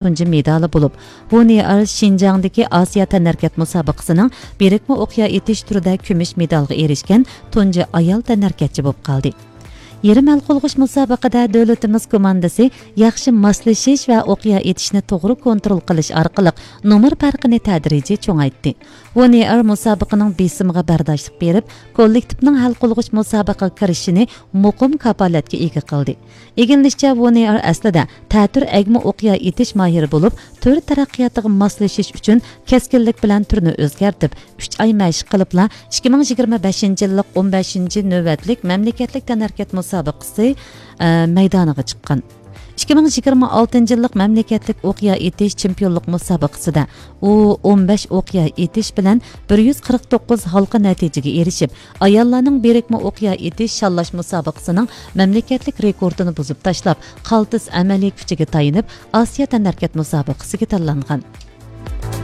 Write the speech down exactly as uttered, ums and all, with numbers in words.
تۇنجى مېدالى بولۇپ، ۋۇ نېئېر شىنجاڭدىكى ئاسىيا تەنھەرىكەت مۇسابىقىسىنىڭ بىرىكمە ئوق يا ئېتىش تۈرىدە كۈمۈش مېدالغا ئېرىشكەن تۇنجى ئايال تەنھەرىكەتچى بولۇپ قالدى. يېرىم ھەل قىلغۇچ مۇسابىقىدە دۆلىتىمىز كوماندىسى ياخشى ماسلىشىش ۋە ئوق يا ئېتىشنى توغرا كونترول قىلىش ئارقىلىق نومۇر پەرقىنى تەدرىجىي چوڭايتتى. ۋۇ نېئېر مۇسابىقىنىڭ بېسىمىغا بەرداشلىق بېرىپ، كوللېكتىپنىڭ ھەل قىلغۇچ مۇسابىقىگە كىرىشىشىنى مۇقىم كاپالەتكە ئىگە قىلدى. ئىگىلىنىشىچە، ۋۇ نېئېر ئەسلىدە تەتۈر ئەگمە ئوق يا ئېتىش ماھىرى بولۇپ، تۈر تەرەققىياتىغا ماسلىشىش ئۈچۈن كەسكىنلىك بىلەن تۈرنى ئۆزگەرتىپ، ئۈچ ئاي مەشىق قىلىپلا، ئىككى مىڭ يىگىرمە بەشىنچى يىللىق ئون بەشىنچى نۆۋەتلىك مەملىكەتلىك تەنھەرىكەت مۇسابىقىسى، ئە، مەيدانىغا چىققان. ئىككى مىڭ يىگىرمە ئالتىنچى يىللىق مەملىكەتلىك ئوق يا ئېتىش چېمپىيونلۇق مۇسابىقىسىدە ئۇ ئون بەش ئوق يا ئېتىش بىلەن بىر يۈز قىرىق توققۇز ھالقا نەتىجىگە ئېرىشىپ، ئاياللارنىڭ بىرىكمە ئوق يا ئېتىش شاللاش مۇسابىقىسىنىڭ مەملىكەتلىك رېكورتىنى بۇزۇپ تاشلاپ، قالتىس ئەمەلىي كۈچىگە تايىنىپ، ئاسىيا تەنھەرىكەت مۇسابىقىسىگە تاللانغان.